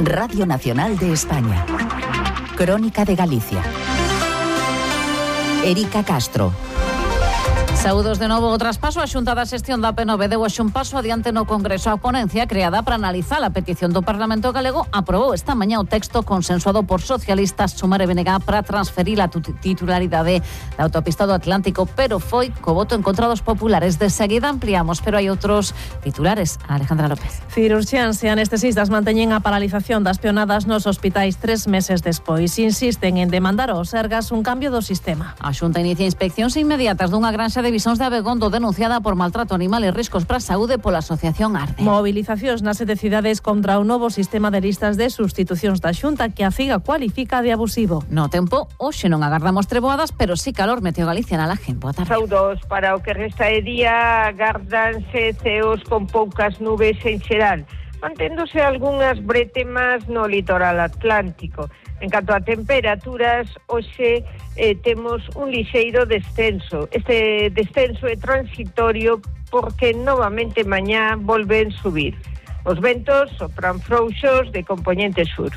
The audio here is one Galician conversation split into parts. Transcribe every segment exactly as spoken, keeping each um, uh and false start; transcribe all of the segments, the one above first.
Radio Nacional de España. Crónica de Galicia. Erika Castro. Saúdos de novo. O traspaso á Xunta da Xestión da P nove deu hoxe un paso adiante no Congreso. A ponencia creada para analizar a petición do Parlamento galego aprobou esta mañá o texto consensuado por socialistas, Sumar e B N G para transferir a titularidade da autopista do Atlántico, pero foi co voto en contra dos populares. De seguida ampliamos, pero hai outros titulares. Alejandra López. Cirurxiáns e anestesistas manteñen a paralización das peonadas nos hospitais tres meses despois. Insisten en demandar aos Sergas un cambio do sistema. A Xunta inicia inspeccións inmediatas dunha granxa de Visóns de Abegondo denunciada por maltrato animal e riscos para a saúde pola asociación Arde. Movilizacións nas sete cidades contra o novo sistema de listas de sustitucións da Xunta que a Figa cualifica de abusivo. No tempo, hoxe non agardamos treboadas, pero sí calor. Meteo Galicia na Laje. Boa tarde. Saudos para o que resta de día, agardanse ceos con poucas nubes en xeral, manténdose algunhas bretemas no litoral atlántico. En canto a temperaturas, hoxe eh, temos un lixeiro descenso. Este descenso é transitorio porque novamente mañá volven subir. Os ventos sopran frouxos de compoñente sur.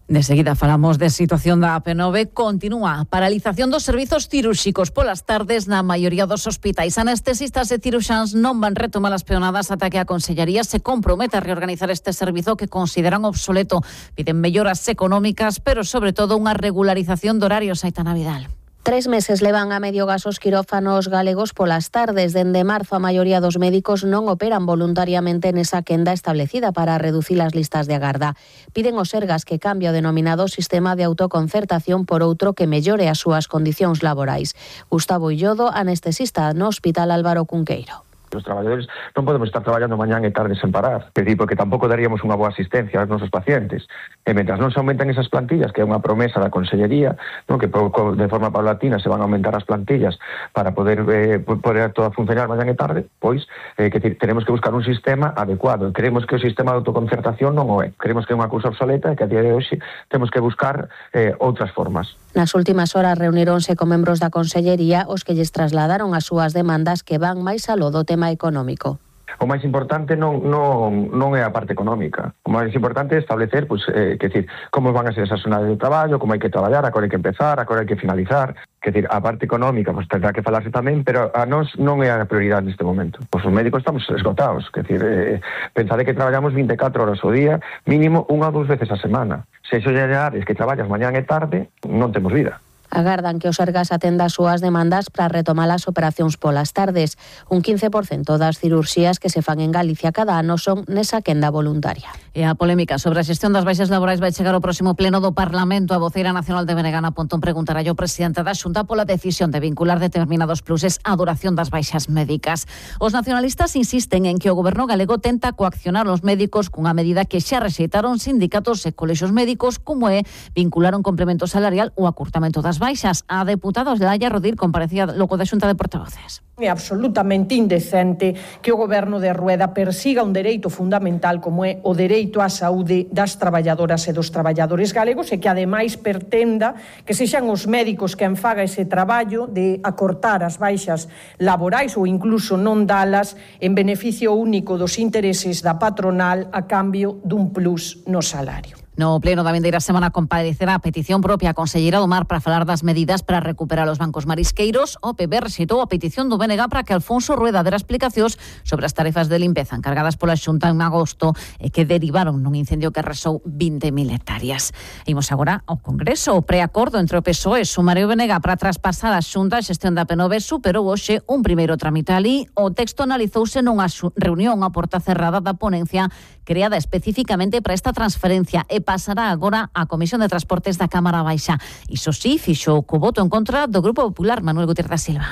De seguida falamos de situación da P nove. Continúa a paralización dos servizos cirúrxicos polas tardes na maioría dos hospitais. Anestesistas e ciruxáns non van retomar as peonadas ata que a Consellería se compromete a reorganizar este servizo que consideran obsoleto. Piden melloras económicas, pero sobre todo unha regularización de horarios. Aitana Vidal. Tres meses levan a medio gas os quirófanos galegos polas tardes. Dende marzo a maioría dos médicos non operan voluntariamente nesa quenda establecida para reducir as listas de agarda. Piden aos Sergas que cambie o denominado sistema de autoconcertación por outro que mellore as súas condicións laborais. Gustavo Illodo, anestesista no Hospital Álvaro Cunqueiro. Os traballadores non podemos estar traballando mañán e tarde sen parar, é dicir, porque tampouco daríamos unha boa asistencia aos nosos pacientes. E mentras non se aumentan esas plantillas, que é unha promesa da Consellería, non, que de forma paulatina se van a aumentar as plantillas para poder eh, poder todo a funcionar mañán e tarde, pois eh, que tenemos que buscar un sistema adecuado. Creemos que o sistema de autoconcertación non o é. Creemos que é unha cousa obsoleta e que a día de hoxe temos que buscar eh, outras formas. Nas últimas horas reunironse con membros da Consellería os que lles trasladaron as súas demandas que van máis aló do tema económico. O máis importante non, non, non é a parte económica. O máis importante é establecer, pues, eh, que decir, como van a ser esas jornadas de traballo, como hai que traballar, a hora hai que empezar, a hora hai que finalizar. Que decir, a parte económica, pues, tendrá que falarse tamén, pero a nós non é a prioridade neste momento. Pois os médicos estamos esgotados. Que decir, eh, pensade que traballamos vinte e catro horas ao día, mínimo unha ou dúas veces a semana. Se iso lle añades que traballas mañán e tarde, non temos vida. Agardan que os Sergas atenda as súas demandas para retomar as operacións polas tardes. Un quince por cento das cirurxías que se fan en Galicia cada ano son nesa quenda voluntaria. E a polémica sobre a xestión das baixas laborais vai chegar ao próximo pleno do Parlamento. A voceira nacional de B N G, Ana Pontón, preguntará ao presidente da Xunta pola decisión de vincular determinados pluses á duración das baixas médicas. Os nacionalistas insisten en que o goberno galego tenta coaccionar os médicos cunha medida que xa rexeitaron sindicatos e colexios médicos, como é vincular un complemento salarial ou acurtamento das baixas. A deputada Olaya Rodil comparecía logo da Xunta de Portavoces. É absolutamente indecente que o goberno de Rueda persiga un dereito fundamental como é o dereito á saúde das traballadoras e dos traballadores galegos e que ademais pretenda que sexan os médicos que enfaga ese traballo de acortar as baixas laborais ou incluso non dalas en beneficio único dos intereses da patronal a cambio dun plus no salario. No pleno da vindeira semana comparecerá a petición propia a conselleira do Mar para falar das medidas para recuperar os bancos marisqueiros. O P B rexeitou a petición do B N G para que Alfonso Rueda dera explicacións sobre as tarefas de limpeza encargadas pola Xunta en agosto e que derivaron nun incendio que arrasou vinte mil hectáreas. Imos agora ao Congreso. O preacordo entre o P S O E, Sumar e o B N G para traspasar a Xunta a xestión da P nove superou hoxe un primeiro tramite alí. O texto analizouse nunha reunión a porta cerrada da ponencia creada especificamente para esta transferencia e pasará agora á Comisión de Transportes da Cámara Baixa. Iso sí, fixo co voto en contra do Grupo Popular, Manuel Gutiérrez da Silva.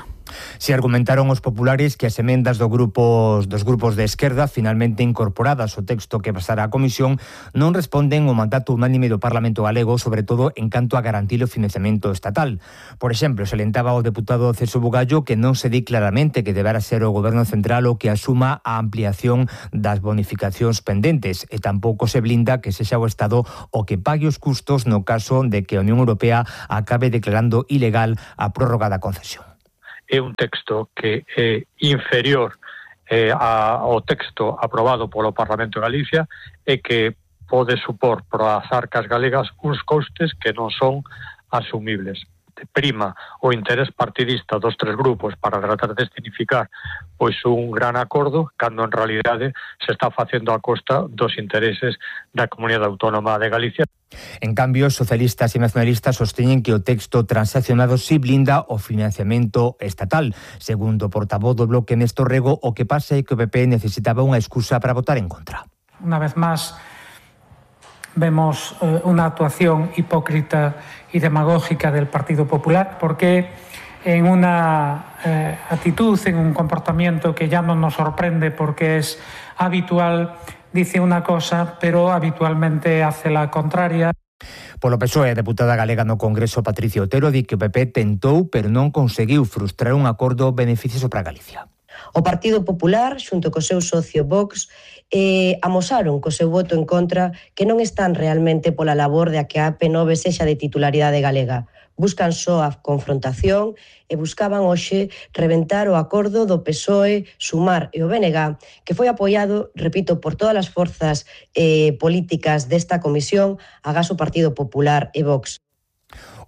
Se argumentaron os populares que as emendas do grupos, dos grupos de esquerda finalmente incorporadas ao texto que pasará á Comisión non responden ao mandato unánime do Parlamento galego, sobre todo en canto a garantir o financiamento estatal. Por exemplo, salientaba o deputado Celso Bugallo que non se di claramente que deberá ser o Goberno Central o que asuma a ampliación das bonificacións pendentes e tampouco se blinda que sexa o Estado o que pague os custos no caso de que a Unión Europea acabe declarando ilegal a prórroga da concesión. é un texto que é inferior eh, ao texto aprobado polo Parlamento de Galicia e que pode supor para as arcas galegas uns costes que non son asumibles. Prima o interés partidista dos tres grupos para tratar de escenificar pois un gran acordo, cando en realidade se está facendo a costa dos intereses da Comunidade Autónoma de Galicia. En cambio, socialistas e nacionalistas sosteñen que o texto transaccionado si blinda o financiamento estatal. Segundo o portavoz do Bloque Néstor Rego, o que pasa é que o P P necesitaba unha excusa para votar en contra. Una vez máis, vemos eh, una actuación hipócrita y demagógica del Partido Popular, porque en una eh, actitud, en un comportamiento que ya no nos sorprende porque es habitual, dice una cosa, pero habitualmente hace la contraria. Polo P S O E, a deputada galega no Congreso Patricia Otero di que o P P tentou, pero non conseguiu frustrar un acordo beneficioso para Galicia. O Partido Popular, xunto co seu socio Vox, eh, amosaron co seu voto en contra que non están realmente pola labor de a que a P nove sexa de titularidade galega. Buscan só a confrontación e buscaban hoxe reventar o acordo do P S O E, Sumar e o B N G, que foi apoiado, repito, por todas as forzas eh, políticas desta comisión, agás o Partido Popular e Vox.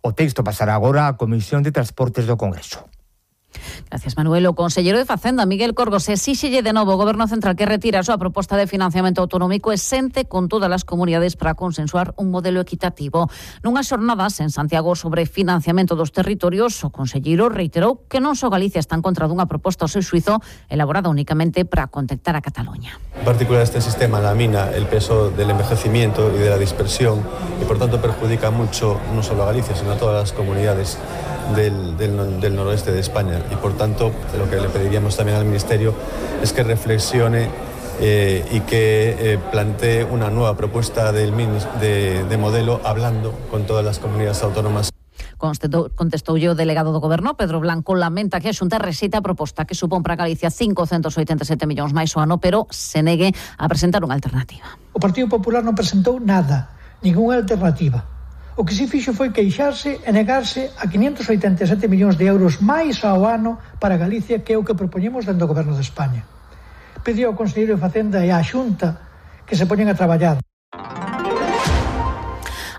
O texto pasará agora á Comisión de Transportes do Congreso. Gracias, Manuel. O conselleiro de Facenda, Miguel Corgos, exíxelle de novo ao Goberno Central que retira a súa proposta de financiamento autonómico e sente con todas as comunidades para consensuar un modelo equitativo. Nunhas xornadas en Santiago sobre financiamento dos territorios, o conselleiro reiterou que non só Galicia está en contra dunha proposta ao seu xuizo elaborada únicamente para contentar a Cataluña. En particular, este sistema lamina el peso del envejecimiento y de la dispersión y por tanto perjudica mucho no solo a Galicia, sino a todas las comunidades Del, del, del noroeste de España y por tanto lo que le pediríamos también al Ministerio es que reflexione eh, y que eh, plantee una nueva propuesta del, de, de modelo hablando con todas las comunidades autónomas. Contestoulle o delegado do Goberno, Pedro Blanco, lamenta que a Xunta rexeite a proposta que supón para Galicia cincocentos oitenta e sete millóns máis o ano, pero se negue a presentar unha alternativa. O Partido Popular non presentou nada, ninguna alternativa. O que se fixo foi queixarse e negarse a quinhentos oitenta e sete millóns de euros máis ao ano para Galicia, que é o que propoñemos dentro do Goberno de España. Pediu ao Conselleiro de Facenda e á Xunta que se poñen a traballar.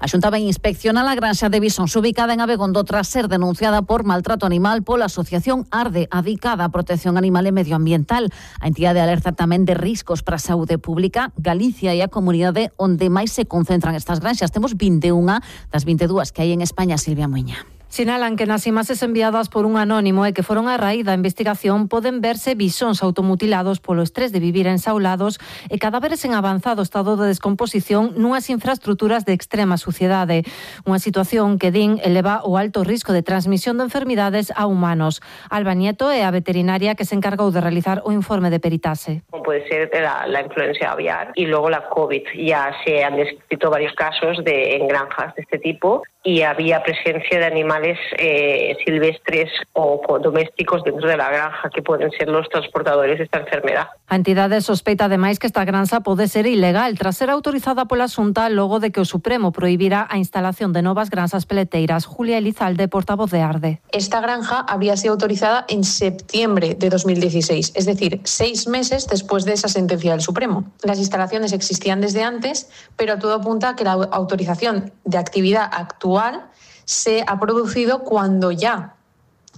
A Xunta vai inspeccionar a granxa de bisóns ubicada en Abegondo tras ser denunciada por maltrato animal pola Asociación Arde, adicada a protección animal e medioambiental. A entidade alerta tamén de riscos para a saúde pública. Galicia é a comunidade onde máis se concentran estas granxas. Temos vinte e unha das vinte e dúas que hai en España, Silvia Muiña. Sinalan que nas imaxes enviadas por un anónimo e que foron a raíz da investigación poden verse bisóns automutilados polo estrés de vivir ensaulados e cadáveres en avanzado estado de descomposición nunhas infraestructuras de extrema suciedade. Unha situación que din eleva o alto risco de transmisión de enfermidades a humanos. Alba Nieto é a veterinaria que se encargou de realizar o informe de peritaxe. Como puede ser la, la influencia aviar y luego la COVID. Ya se han descrito varios casos de, en granjas de este tipo y había presencia de animales eh, silvestres o domésticos dentro de la granja que pueden ser los transportadores de esta enfermedad. A entidade sospeita ademais que esta granxa pode ser ilegal tras ser autorizada pola Xunta logo de que o Supremo prohibira a instalación de novas granxas peleteiras. Julia Elizalde, portavoz de Arde. Esta granja habría sido autorizada en septiembre de dos mil dieciséis, es decir, seis meses después de esa sentencia del Supremo. Las instalaciones existían desde antes, pero todo apunta a que la autorización de actividad actual se ha producido cuando ya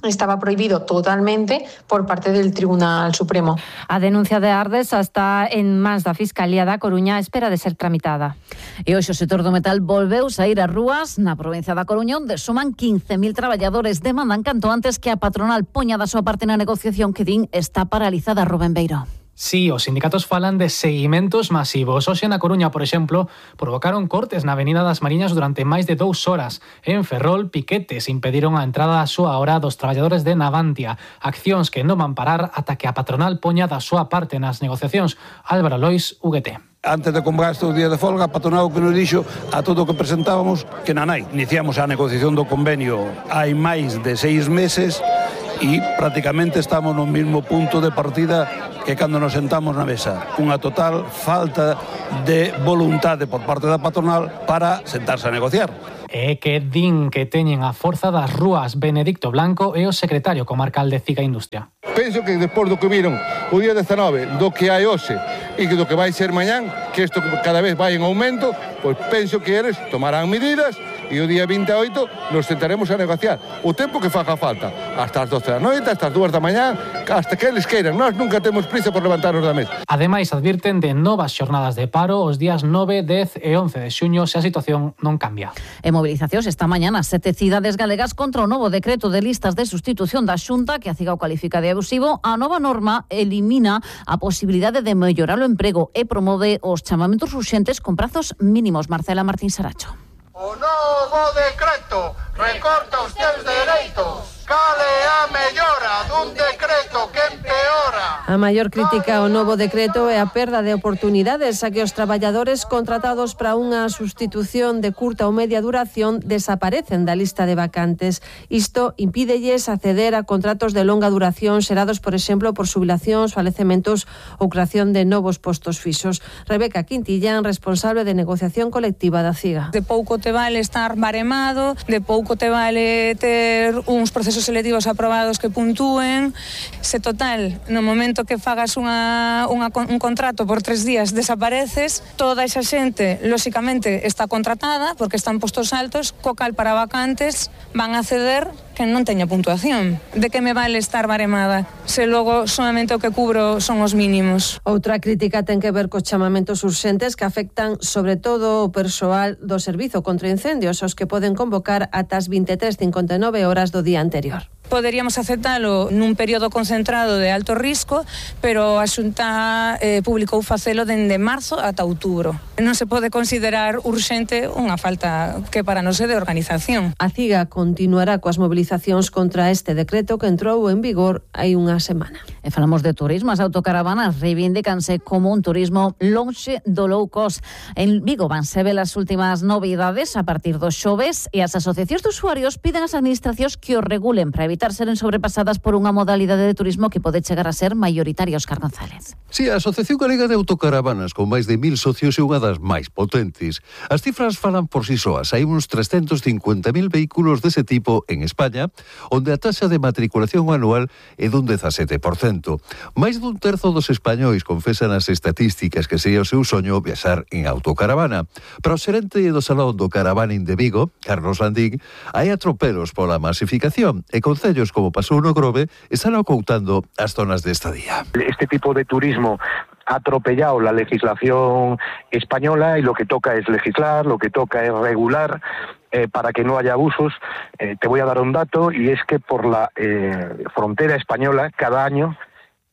estaba prohibido totalmente por parte del Tribunal Supremo. A denuncia de Ardes está en mans da Fiscalía da Coruña a espera de ser tramitada. E hoxe o sector do metal volveu saír ás rúas na provincia da Coruña, onde suman quince mil traballadores. Demandan canto antes que a patronal poña da súa parte na negociación que din está paralizada. Rubén Beiro. Sí, os sindicatos falan de seguimentos masivos. Hoxe na Coruña, por exemplo, provocaron cortes na Avenida das Mariñas durante máis de dous horas. En Ferrol, piquetes impediron a entrada a súa hora dos traballadores de Navantia. Accións que non van parar ata que a patronal poña da súa parte nas negociacións. Álvaro Lois, U G T. Antes de convocar estes días de folga, a patronal que nos dixo a todo o que presentábamos que na nai. Iniciamos a negociación do convenio hai máis de seis meses e prácticamente estamos no mesmo punto de partida que cando nos sentamos na mesa. Unha total falta de voluntade por parte da patronal para sentarse a negociar. e que din que teñen a forza das rúas. Benedicto Blanco é o secretario comarcal de Ciga Industria. Penso que despois do que viron o día dezanove, do que hai hoxe e do que vai ser mañán, que isto cada vez vai en aumento, pois penso que eles tomarán medidas e o día vinte e oito nos sentaremos a negociar o tempo que faga falta, hasta as doce da noite, hasta as dúas da mañá, hasta que eles queiran. Nós nunca temos prisa por levantarnos da mesa. Ademais, advirten de novas xornadas de paro os días nove, dez e once de xuño se a situación non cambia. En movilizacións esta mañana sete cidades galegas contra o novo decreto de listas de sustitución da Xunta que a Cigao califica de abusivo. A nova norma elimina a posibilidade de mellorar o emprego e promove os chamamentos urxentes con prazos mínimos. Marcela Martín Saracho. O novo decreto recorta os teus dereitos. Cale a mellora dun decreto que empeora. A maior crítica ao novo decreto é a perda de oportunidades a que os traballadores contratados para unha sustitución de curta ou media duración desaparecen da lista de vacantes. Isto impídelles acceder a contratos de longa duración xerados, por exemplo, por xubilacións, falecementos ou creación de novos postos fixos. Rebeca Quintillán, responsable de negociación colectiva da Ciga. De pouco te vale estar baremado, de pouco te vale ter uns procesos selectivos aprobados que puntúen. Se total, no momento que fagas unha, unha, un contrato por tres días desapareces, toda esa xente, lóxicamente, está contratada porque están postos altos, co cal para vacantes van a ceder que non teña puntuación. De que me vale estar baremada se logo solamente o que cubro son os mínimos? Outra crítica ten que ver cos chamamentos urxentes que afectan sobre todo o persoal do Servizo contra Incendios, os que poden convocar ata as vinte e tres cincuenta e nove horas do día anterior. Poderíamos aceptalo nun período concentrado de alto risco, pero a Xunta eh, publicou facelo dende marzo ata outubro. Non se pode considerar urxente unha falta que para nós é de organización. A Ciga continuará coas movilizacións contra este decreto que entrou en vigor hai unha semana. E falamos de turismo. As autocaravanas reivindicanse como un turismo lonxe do low cost. En Vigo vanse ver as últimas novidades a partir dos xoves e as asociacións de usuarios piden ás administracións que o regulen para evitar seren sobrepasadas por unha modalidade de turismo que pode chegar a ser maioritaria. Óscar González. Si, a Asociación Galega de Autocaravanas, con máis de mil socios, é unha das máis potentes. As cifras falan por si soas. Hai uns trescentos cincuenta mil vehículos dese tipo en España, onde a taxa de matriculación anual é dun dezasete por cento. Máis dun terzo dos españois confesan as estatísticas que sería o seu soño viaxar en autocaravana. Para o xerente do Salón do Caravaning de Vigo, Carlos Landín, hai atropelos pola masificación e concellos como pasou no Grove están ocultando as zonas de estadía. Este tipo de turismo ha atropellado la legislación española y lo que toca es legislar, lo que toca es regular eh, para que no haya abusos. Eh, te voy a dar un dato y es que por la eh, frontera española cada año,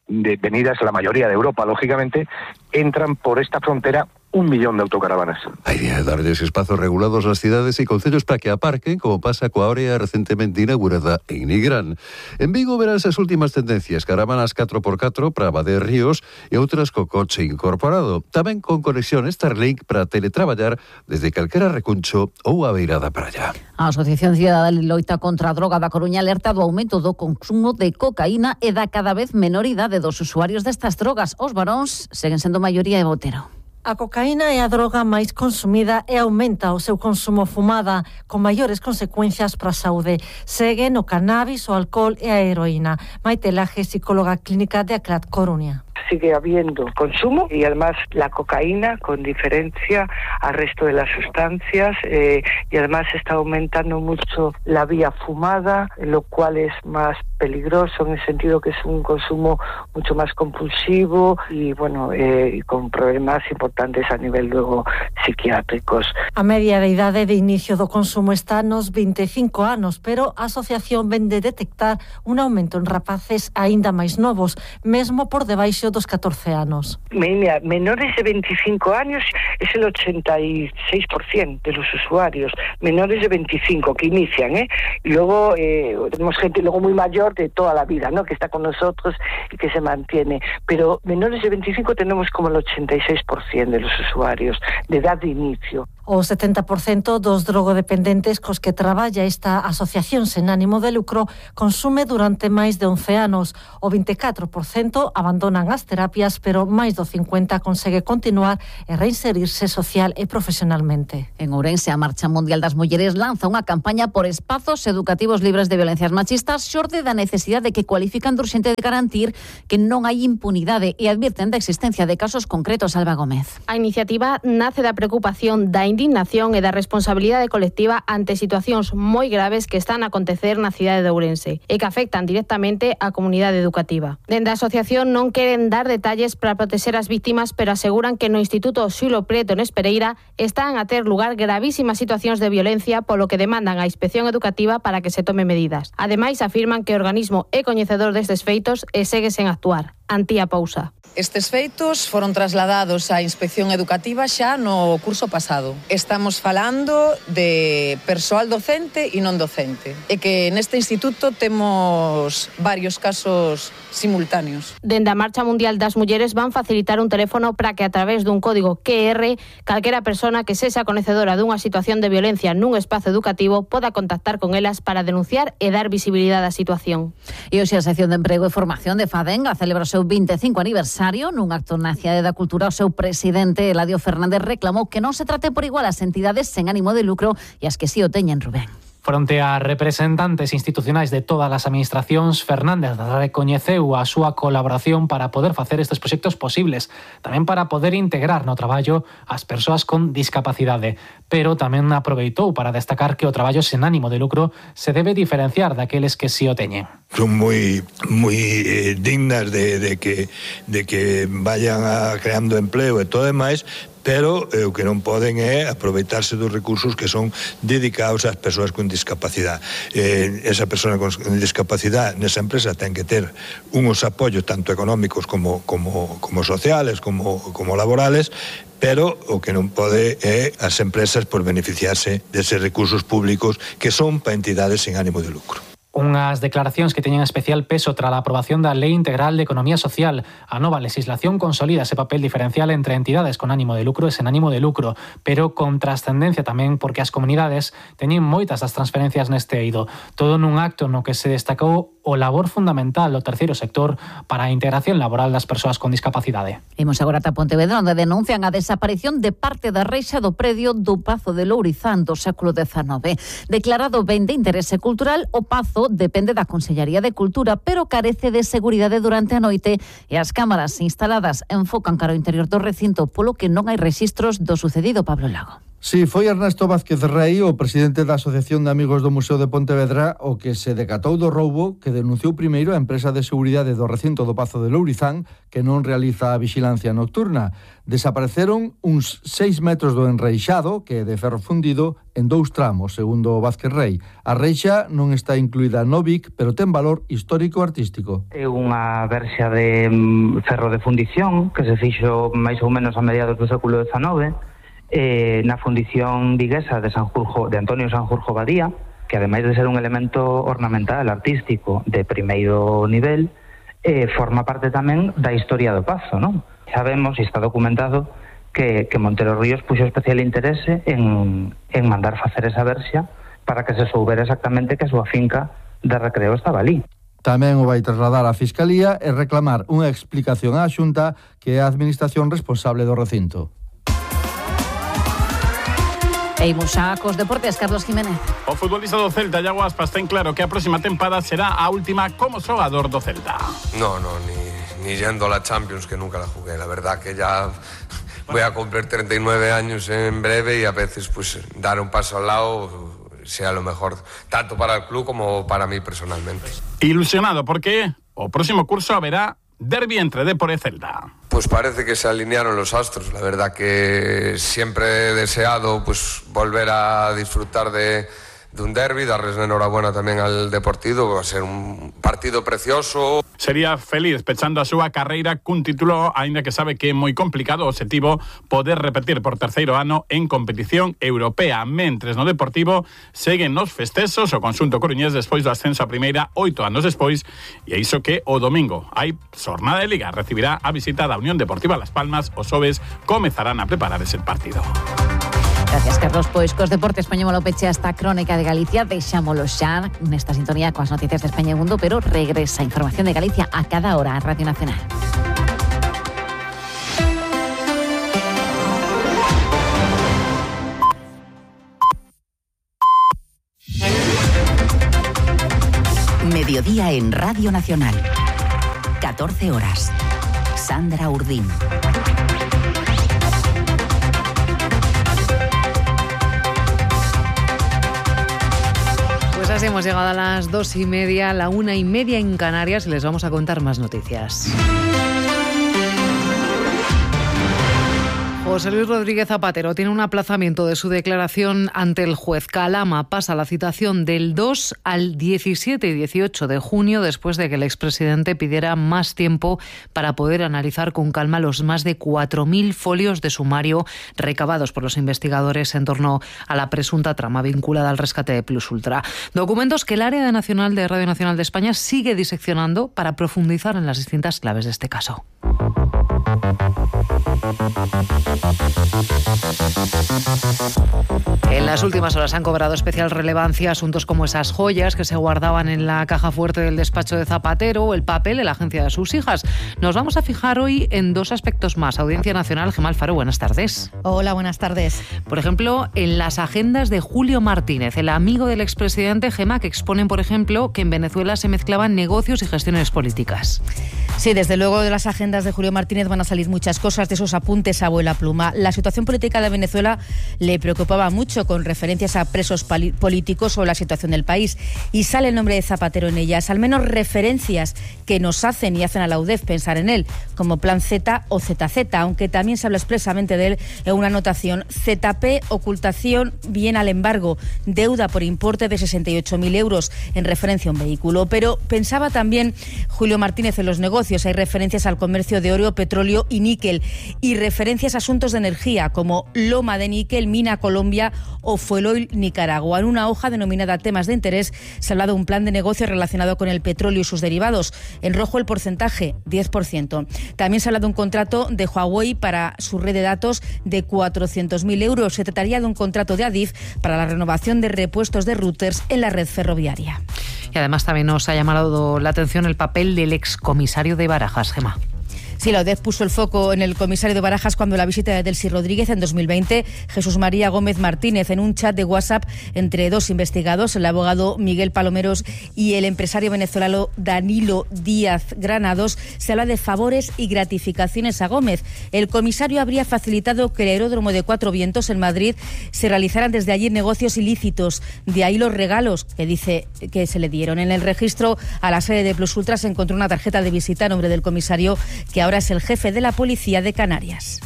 de venidas la mayoría de Europa, lógicamente, entran por esta frontera un millón de autocaravanas. Hai de darles espazos regulados ás cidades e concellos para que aparquen, como pasa coa área recentemente inaugurada en Nigrán. En Vigo verás as últimas tendencias, caravanas catro por catro para Abade Ríos e outras co coche incorporado. Tamén con conexión Starlink para teletraballar desde calquera recuncho ou a beira da praia. A Asociación Cidadá de Loita contra a Droga da Coruña alerta do aumento do consumo de cocaína e da cada vez menor idade dos usuarios destas drogas. Os varóns seguen sendo maioría e Botero. A cocaína é a droga máis consumida e aumenta o seu consumo fumada, con maiores consecuencias para a saúde. Seguen o cannabis, o alcohol e a heroína. Maite Laje, psicóloga clínica de Aclat Coruña. Sigue habiendo consumo y además la cocaína, con diferencia al resto de las sustancias, eh, y además está aumentando mucho la vía fumada, lo cual es más peligroso en el sentido que es un consumo mucho más compulsivo y bueno, eh, y con problemas importantes a nivel luego psiquiátricos. A media de idade de inicio do consumo está nos vinte e cinco anos, pero a asociación ven de detectar un aumento en rapaces aínda máis novos, mesmo por debaixo dos catorce anos. Mira, menores de veinticinco años es el ochenta y seis por ciento de los usuarios, menores de veinticinco que inician, ¿eh? Y luego eh, tenemos gente luego muy mayor de toda la vida, ¿no? Que está con nosotros y que se mantiene, pero menores de veinticinco tenemos como el ochenta y seis por ciento de los usuarios de edad de inicio. O setenta por cento dos drogodependentes cos que traballa esta asociación sen ánimo de lucro consume durante máis de once anos. O vinte e catro por cento abandonan as terapias, pero máis do cincuenta consegue continuar e reinserirse social e profesionalmente. En Ourense, a Marcha Mundial das Mulleres lanza unha campaña por espazos educativos libres de violencias machistas xorde da necesidade que cualifican de urxente de garantir que non hai impunidade e advirten da existencia de casos concretos. Alba Gómez. A iniciativa nace da preocupación, da indignación e da responsabilidade colectiva ante situacións moi graves que están a acontecer na cidade de Ourense e que afectan directamente á comunidade educativa. Dende a asociación non queren dar detalles para protexer as víctimas, pero aseguran que no Instituto Xulo Preto en Espereira están a ter lugar gravísimas situacións de violencia, polo que demandan a Inspección Educativa para que se tome medidas. Ademais, afirman que o organismo é coñecedor destes feitos e segue sen actuar. Antía Pousa. Estes feitos foron trasladados á Inspección Educativa xa no curso pasado. Estamos falando de persoal docente e non docente. E que neste instituto temos varios casos simultáneos. Dende a Marcha Mundial das Mulleres van facilitar un teléfono para que a través dun código Q R calquera persona que sexa conhecedora dunha situación de violencia nun espazo educativo poda contactar con elas para denunciar e dar visibilidade á situación. E hoxe a sección de Emprego e Formación de FADENGA celebra o seu vinte e cinco aniversario. Nun acto na Cidade da Cultura, o seu presidente, Eladio Fernández, reclamou que non se trate por igual as entidades sen ánimo de lucro e as que si o teñen, Rubén. Fronte a representantes institucionais de todas as administracións, Fernández recoñeceu a súa colaboración para poder facer estes proxectos posibles, tamén para poder integrar no traballo as persoas con discapacidade, pero tamén aproveitou para destacar que o traballo sen ánimo de lucro se debe diferenciar daqueles que si o teñen. Son moi moi eh, dignas de, de que de que vayan a creando empleo e todo demais, pero eh, o que non poden é aproveitarse dos recursos que son dedicados ás persoas con discapacidade. Eh, esa persoa con discapacidade nesa empresa ten que ter uns apoios tanto económicos como, como, como sociales, como, como laborales, pero o que non pode é as empresas por beneficiarse deses recursos públicos que son para entidades sen ánimo de lucro. Unhas declaracións que teñen especial peso tras a aprobación da Lei Integral de Economía Social. A nova legislación consolida ese papel diferencial entre entidades con ánimo de lucro e sen ánimo de lucro, pero con trascendencia tamén porque as comunidades teñen moitas das transferencias neste eido. Todo nun acto no que se destacou o labor fundamental do terceiro sector para a integración laboral das persoas con discapacidade. Imos agora ata Pontevedra, onde denuncian a desaparición de parte da reixa do predio do Pazo de Lourizán do século dezanove. Declarado ben de interese cultural, o Pazo depende da Consellería de Cultura, pero carece de seguridade durante a noite e as cámaras instaladas enfocan cara ao interior do recinto, polo que non hai rexistros do sucedido. Pablo Lago. Sí, foi Ernesto Vázquez Rei, o presidente da Asociación de Amigos do Museo de Pontevedra, o que se decatou do roubo que denunciou primeiro a empresa de seguridade do recinto do Pazo de Lourizán, que non realiza a vixilancia nocturna. Desapareceron uns seis metros do enreixado, que é de ferro fundido, en dous tramos, segundo Vázquez Rei. A reixa non está incluída no B I C, pero ten valor histórico-artístico. É unha verxa de ferro de fundición que se fixo máis ou menos a mediados do século dezanove, Eh, na fundición viguesa de Sanjurjo, de Antonio Sanjurjo Badía, que ademais de ser un elemento ornamental, artístico de primeiro nivel, eh, forma parte tamén da historia do Pazo, non? Sabemos, e está documentado, que, que Montero Ríos puxo especial interese en, en mandar facer esa verxa para que se soubera exactamente que a súa finca de recreo estaba ali. Tamén o vai trasladar á Fiscalía e reclamar unha explicación á Xunta, que é a administración responsable do recinto. E imos xa cos deportes, Carlos Jiménez. O futbolista do Celta, Iago Aspas, ten claro que a próxima tempada será a última como xogador do Celta. No, no, ni, ni yendo a la Champions, que nunca la jugué. La verdad que ya voy a cumplir treinta y nueve años en breve y a veces pues dar un paso al lado sea lo mejor, tanto para el club como para mí personalmente. Ilusionado porque o próximo curso haberá derbi entre Dépor e Celta. Pues parece que se alinearon los astros. La verdad que siempre he deseado pues volver a disfrutar de, de un derbi, darles enhorabuena tamén al Deportivo, va a ser un partido precioso. Sería feliz pechando a súa carreira cun título, aínda que sabe que é moi complicado o objetivo poder repetir por terceiro ano en competición europea. Mentres no Deportivo seguen nos festexos o conxunto coruñés despois do ascenso a primeira oito anos despois, e iso que o domingo hai xornada de Liga, recibirá a visita da Unión Deportiva Las Palmas, os xoves comezarán a preparar ese partido. Gracias, Carlos. Pois cos deportes poñémolo peche a esta crónica de Galicia, deixámolo xa nesta sintonía coas noticias de España e Mundo, pero regresa a información de Galicia a cada hora en Radio Nacional. mediodía en Radio Nacional. catorce horas. Sandra Urdín. Pues así hemos llegado a las dos y media, la una y media en Canarias y les vamos a contar más noticias. José Luis Rodríguez Zapatero tiene un aplazamiento de su declaración ante el juez. Calama pasa la citación del dos al diecisiete y dieciocho de junio después de que el expresidente pidiera más tiempo para poder analizar con calma los más de cuatro mil folios de sumario recabados por los investigadores en torno a la presunta trama vinculada al rescate de Plus Ultra. Documentos que el área nacional de Radio Nacional de España sigue diseccionando para profundizar en las distintas claves de este caso. En las últimas horas han cobrado especial relevancia asuntos como esas joyas que se guardaban en la caja fuerte del despacho de Zapatero o el papel de la agencia de sus hijas. Nos vamos a fijar hoy en dos aspectos más. Audiencia Nacional, Gemma Alfaro, buenas tardes. Hola, buenas tardes. Por ejemplo, en las agendas de Julio Martínez, el amigo del expresidente, Gemma, que exponen, por ejemplo, que en Venezuela se mezclaban negocios y gestiones políticas. Sí, desde luego de las agendas de Julio Martínez van a salir muchas cosas, de esos apuntes a abuela pluma. La situación política de Venezuela le preocupaba mucho, con referencias a presos políticos o la situación del país, y sale el nombre de Zapatero en ellas, al menos referencias que nos hacen y hacen a la U D E F pensar en él, como Plan Z o Z Z, aunque también se habla expresamente de él en una anotación: Z P, ocultación, bien al embargo, deuda por importe de sesenta y ocho mil euros, en referencia a un vehículo. Pero pensaba también Julio Martínez en los negocios. Hay referencias al comercio de oro, petróleo y níquel, y referencias a asuntos de energía como Loma de Níquel, Mina Colombia o Fueloil Nicaragua. En una hoja denominada Temas de Interés se habla de un plan de negocio relacionado con el petróleo y sus derivados. En rojo el porcentaje, diez por ciento. También se habla de un contrato de Huawei para su red de datos de cuatrocientos mil euros. Se trataría de un contrato de Adif para la renovación de repuestos de routers en la red ferroviaria. Y además también nos ha llamado la atención el papel del excomisario de Barajas, Gemma. Sí, la U D E F puso el foco en el comisario de Barajas cuando la visita de Delcy Rodríguez en dos mil veinte, Jesús María Gómez Martínez, en un chat de WhatsApp entre dos investigados, el abogado Miguel Palomeros y el empresario venezolano Danilo Díaz Granados, se habla de favores y gratificaciones a Gómez. El comisario habría facilitado que el aeródromo de Cuatro Vientos en Madrid se realizaran desde allí negocios ilícitos, de ahí los regalos que dice que se le dieron. En el registro a la sede de Plus Ultra se encontró una tarjeta de visita a nombre del comisario, que ahora Ahora es el jefe de la policía de Canarias.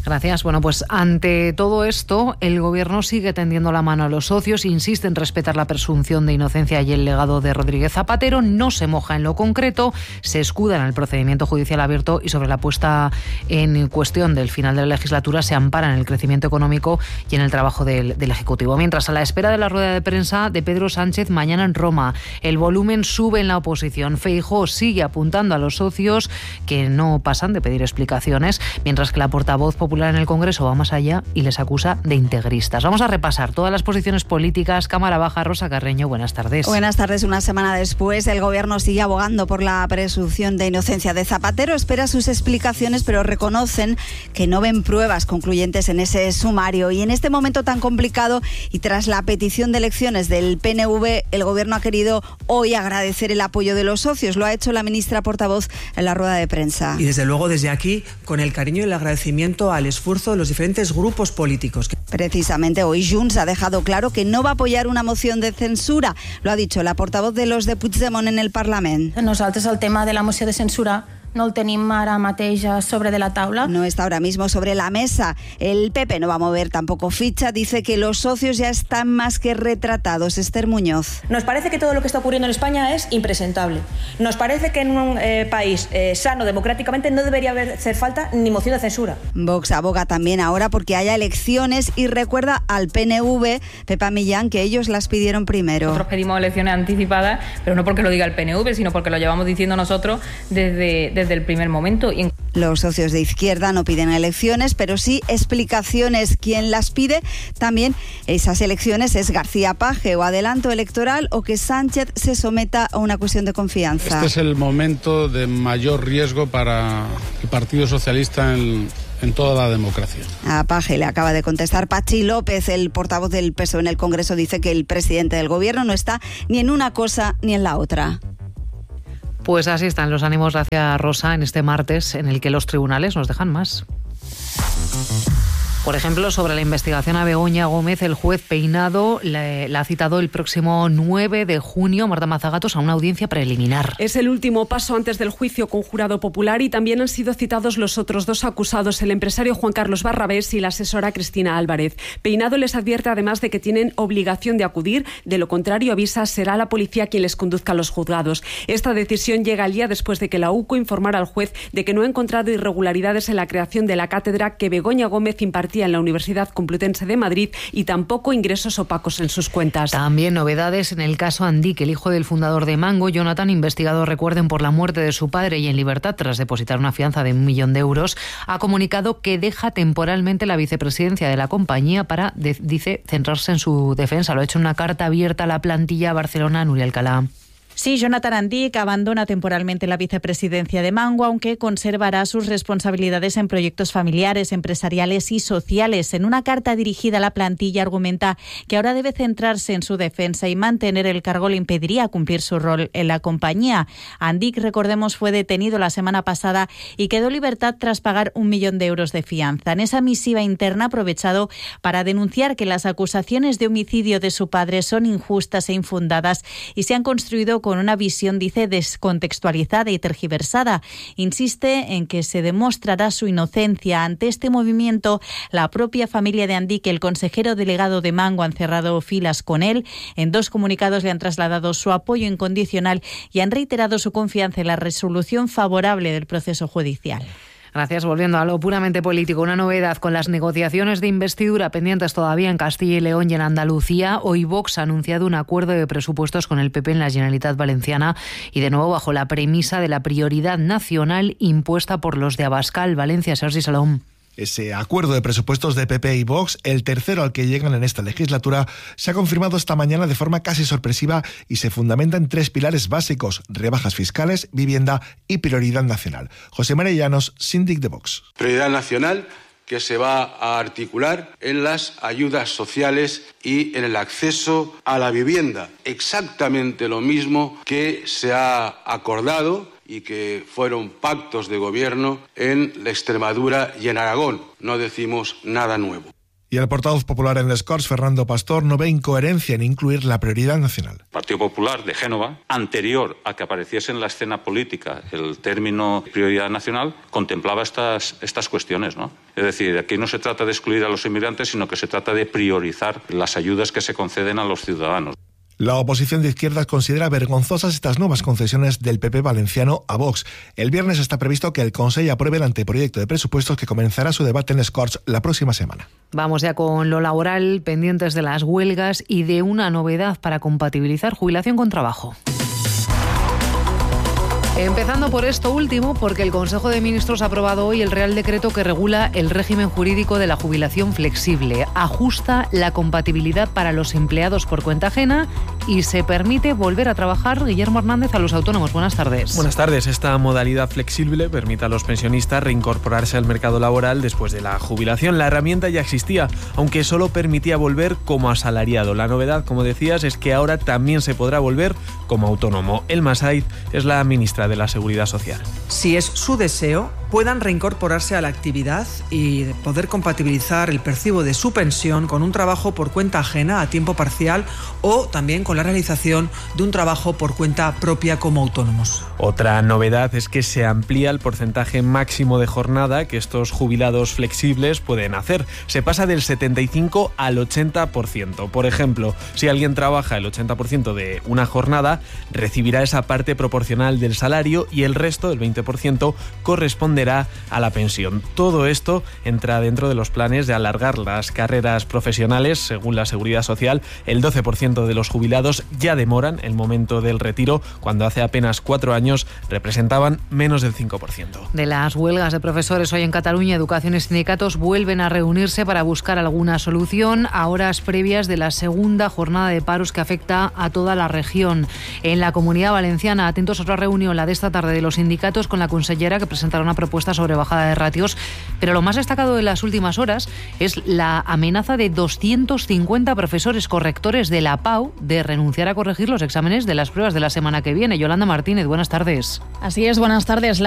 Gracias. Bueno, pues ante todo esto, el Gobierno sigue tendiendo la mano a los socios, insiste en respetar la presunción de inocencia y el legado de Rodríguez Zapatero, no se moja en lo concreto, se escuda en el procedimiento judicial abierto y sobre la puesta en cuestión del final de la legislatura se ampara en el crecimiento económico y en el trabajo del, del Ejecutivo. Mientras, a la espera de la rueda de prensa de Pedro Sánchez mañana en Roma, el volumen sube en la oposición. Feijóo sigue apuntando a los socios que no pasan de pedir explicaciones, mientras que la portavoz popular en el Congreso va más allá y les acusa de integristas. Vamos a repasar todas las posiciones políticas. Cámara Baja, Rosa Carreño, buenas tardes. Buenas tardes. Una semana después, el Gobierno sigue abogando por la presunción de inocencia de Zapatero. Espera sus explicaciones, pero reconocen que no ven pruebas concluyentes en ese sumario. Y en este momento tan complicado y tras la petición de elecciones del P N V, el Gobierno ha querido hoy agradecer el apoyo de los socios. Lo ha hecho la ministra portavoz en la rueda de prensa. Y desde luego desde aquí, con el cariño y el agradecimiento al esfuerzo de los diferentes grupos políticos. Precisamente hoy Junts ha dejado claro que no va a apoyar una moción de censura. Lo ha dicho la portavoz de los de Puigdemont en el Parlamento. Nosaltres el tema de la moció de censura no el tenim ara mateix sobre de la taula. No está ahora mismo sobre la mesa. El P P no va a mover tampoco ficha. Dice que los socios ya están más que retratados. Esther Muñoz. Nos parece que todo lo que está ocurriendo en España es impresentable. Nos parece que en un eh, país eh, sano democráticamente no debería hacer falta ni moción de censura. Vox aboga también ahora porque haya elecciones y recuerda al P N V, Pepa Millán, que ellos las pidieron primero. Nosotros pedimos elecciones anticipadas, pero no porque lo diga el P N V, sino porque lo llevamos diciendo nosotros desde, desde desde el primer momento. Los socios de izquierda no piden elecciones, pero sí explicaciones. Quien las pide también esas elecciones es García Paje, o adelanto electoral o que Sánchez se someta a una cuestión de confianza. Este es el momento de mayor riesgo para el Partido Socialista en, en toda la democracia. A Paje le acaba de contestar Pachi López, el portavoz del P S O E en el Congreso. Dice que el presidente del Gobierno no está ni en una cosa ni en la otra. Pues así están los ánimos, gracias Rosa, en este martes en el que los tribunales nos dejan más. Por ejemplo, sobre la investigación a Begoña Gómez, el juez Peinado la, la ha citado el próximo nueve de junio, Marta Mazagatos, a una audiencia preliminar. Es el último paso antes del juicio con jurado popular y también han sido citados los otros dos acusados, el empresario Juan Carlos Barrabés y la asesora Cristina Álvarez. Peinado les advierte además de que tienen obligación de acudir, de lo contrario avisa, será la policía quien les conduzca a los juzgados. Esta decisión llega al día después de que la U C O informara al juez de que no ha encontrado irregularidades en la creación de la cátedra que Begoña Gómez impartía en la Universidad Complutense de Madrid y tampoco ingresos opacos en sus cuentas. También novedades en el caso Andic, el hijo del fundador de Mango, Jonathan, investigado, recuerden, por la muerte de su padre y en libertad tras depositar una fianza de un millón de euros, ha comunicado que deja temporalmente la vicepresidencia de la compañía para, de, dice, centrarse en su defensa. Lo ha hecho en una carta abierta a la plantilla Barcelona, Nuria Alcalá. Sí, Jonathan Andic abandona temporalmente la vicepresidencia de Mango, aunque conservará sus responsabilidades en proyectos familiares, empresariales y sociales. En una carta dirigida a la plantilla argumenta que ahora debe centrarse en su defensa y mantener el cargo le impediría cumplir su rol en la compañía. Andic, recordemos, fue detenido la semana pasada y quedó en libertad tras pagar un millón de euros de fianza. En esa misiva interna ha aprovechado para denunciar que las acusaciones de homicidio de su padre son injustas e infundadas y se han construido con una visión, dice, descontextualizada y tergiversada. Insiste en que se demostrará su inocencia. Ante este movimiento, la propia familia de Andic y el consejero delegado de Mango han cerrado filas con él. En dos comunicados le han trasladado su apoyo incondicional y han reiterado su confianza en la resolución favorable del proceso judicial. Gracias. Volviendo a lo puramente político, una novedad con las negociaciones de investidura pendientes todavía en Castilla y León y en Andalucía. Hoy Vox ha anunciado un acuerdo de presupuestos con el P P en la Generalitat Valenciana y de nuevo bajo la premisa de la prioridad nacional impuesta por los de Abascal, Valencia. Sergi Salom. Ese acuerdo de presupuestos de P P y Vox, el tercero al que llegan en esta legislatura, se ha confirmado esta mañana de forma casi sorpresiva y se fundamenta en tres pilares básicos: rebajas fiscales, vivienda y prioridad nacional. José María Llanos, síndic de Vox. Prioridad nacional que se va a articular en las ayudas sociales y en el acceso a la vivienda. Exactamente lo mismo que se ha acordado y que fueron pactos de gobierno en la Extremadura y en Aragón. No decimos nada nuevo. Y el portavoz popular en les Corts, Fernando Pastor, no ve incoherencia en incluir la prioridad nacional. El Partido Popular de Génova, anterior a que apareciese en la escena política el término prioridad nacional, contemplaba estas, estas cuestiones, ¿no? Es decir, aquí no se trata de excluir a los inmigrantes, sino que se trata de priorizar las ayudas que se conceden a los ciudadanos. La oposición de izquierdas considera vergonzosas estas nuevas concesiones del P P valenciano a Vox. El viernes está previsto que el Consell apruebe el anteproyecto de presupuestos que comenzará su debate en les Corts la próxima semana. Vamos ya con lo laboral, pendientes de las huelgas y de una novedad para compatibilizar jubilación con trabajo. Empezando por esto último, porque el Consejo de Ministros ha aprobado hoy el Real Decreto que regula el régimen jurídico de la jubilación flexible. Ajusta la compatibilidad para los empleados por cuenta ajena y se permite volver a trabajar, Guillermo Hernández, a los autónomos. Buenas tardes. Buenas tardes. Esta modalidad flexible permite a los pensionistas reincorporarse al mercado laboral después de la jubilación. La herramienta ya existía, aunque solo permitía volver como asalariado. La novedad, como decías, es que ahora también se podrá volver como autónomo. Elma Said es la ministra de la Seguridad Social. Si es su deseo, puedan reincorporarse a la actividad y poder compatibilizar el percibo de su pensión con un trabajo por cuenta ajena a tiempo parcial o también con la realización de un trabajo por cuenta propia como autónomos. Otra novedad es que se amplía el porcentaje máximo de jornada que estos jubilados flexibles pueden hacer. Se pasa del setenta y cinco al ochenta por ciento. Por ejemplo, si alguien trabaja el ochenta por ciento de una jornada, recibirá esa parte proporcional del salario y el resto, el veinte por ciento, corresponderá a la pensión. Todo esto entra dentro de los planes de alargar las carreras profesionales. Según la Seguridad Social, el doce por ciento de los jubilados ya demoran el momento del retiro, cuando hace apenas cuatro años representaban menos del cinco por ciento. De las huelgas de profesores hoy en Cataluña, Educación y sindicatos vuelven a reunirse para buscar alguna solución a horas previas de la segunda jornada de paros que afecta a toda la región. En la Comunidad Valenciana, atentos a otra reunión, la de esta tarde, de los sindicatos con la consellera, que presentará una propuesta sobre bajada de ratios, pero lo más destacado de las últimas horas es la amenaza de doscientos cincuenta profesores correctores de la P A U de renunciar a corregir los exámenes de las pruebas de la semana que viene. Yolanda Martínez, buenas tardes. Así es, buenas tardes.